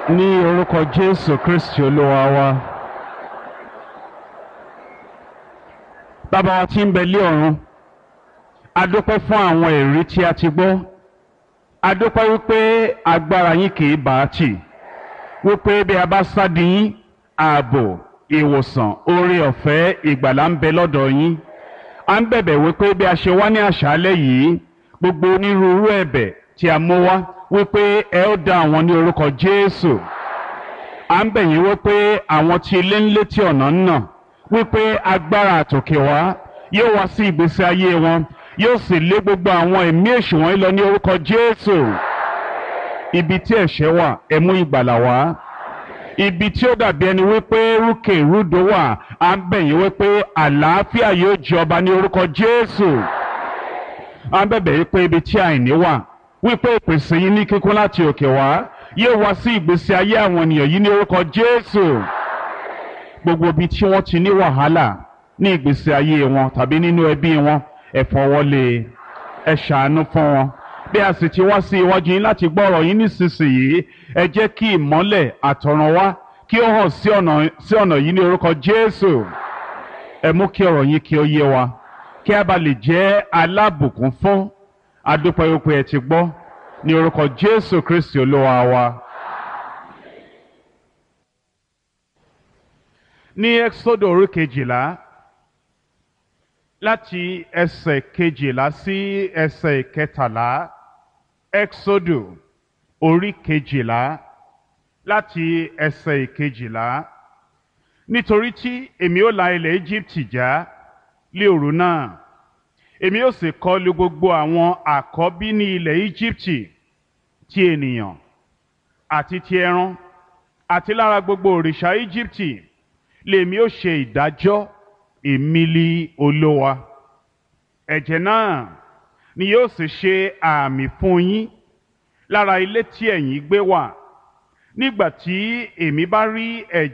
Ní orúkọ Jésù Kristi Olúwa wa. Bàbá wa tí ń bẹ lé ọ̀run, a dúpẹ́ fún àwọn ẹ̀rí tí a ti gbọ́. A dúpẹ́ wípé agbára yín kì í bá a tì. Wípé bí a bá sádi yín, ààbò, ìwòsàn, oore ọ̀fẹ́, ìgbàlà ń bẹ lọ́dọ̀ yín. A ń bẹ̀bẹ̀ wípé bí a ṣe wá ní àṣálẹ́ yìí, gbogbo onírúurú ẹ̀bẹ̀ tí a mú wá wípé ẹ ó dá àwọn ní orúkọ Jésù. À ń bẹ̀ yín wípé àwọn tí ilé ń létí ọ̀nà ń nà wípé agbára àtòkè wá yóò wá sí ìgbésí ayé wọn, yóò sì lé gbogbo àwọn ẹ̀mí èṣù wọ̀nyí lọ ní orúkọ Jésù. Ibi tí ẹ̀ṣẹ̀ wà, ẹ mú ìgbàlà wá. Ibi tí ó dàbí ẹni wípé rúkè rúdò wà, à ń bẹ̀ yín wípé àlàáfíà yóò jọba ní orúkọ Jésù. À ń bẹ̀bẹ̀ wípé ibi tí àìní wà, wípé ìpèsè yín ní kíkún láti òkè wá yóò wá sí ìgbésí ayé àwọn ènìyàn yìí ní orúkọ Jésù. Gbogbo ibi tí wọ́n ti ní wàhálà ní ìgbésí ayé wọn tàbí nínú ẹbí wọn, ẹ fọwọ́lé, ẹ ṣàánú fún wọn. Bí a sì ti wá sí iwájú yín láti gbọ́ ọ̀rọ̀ yín nísinsìnyí, ẹ jẹ́ kí ìmọ́lẹ̀ àtọ̀run wá kí ó hàn sí ọ̀nà yìí ní orúkọ Jésù. Ẹ mú kí ọ̀rọ̀ yín kí ó yé wa, kí a bá lè jẹ́ alábùkún fún. A dúpẹ́ wípé ẹ ti gbọ́ ní orúkọ Jésù Kristi Olúwa wa. Ní Ẹ́kísódù orí 12, láti ẹsẹ̀ 12 sí ẹsẹ̀ 13. Ẹ́kísódù orí 12, láti ẹsẹ̀ 12. Nítorí tí èmi ó la ilẹ̀ Íjíbítì já lé òru náà, èmi ó sì kọlù gbogbo àwọn àkọ́bí ní ilẹ̀ Íjíbítì, ti ènìyàn àti ti ẹran, àti lára gbogbo òrìṣà Íjíbítì lèmi ó ṣe ìdájọ́. Èmi li Olúwa. Ẹ̀jẹ̀ náà ni yóò sì ṣe àmì fún yín lára ilé tí ẹ̀yin gbé wà. Nígbà tí èmi bá rí ẹ̀jẹ̀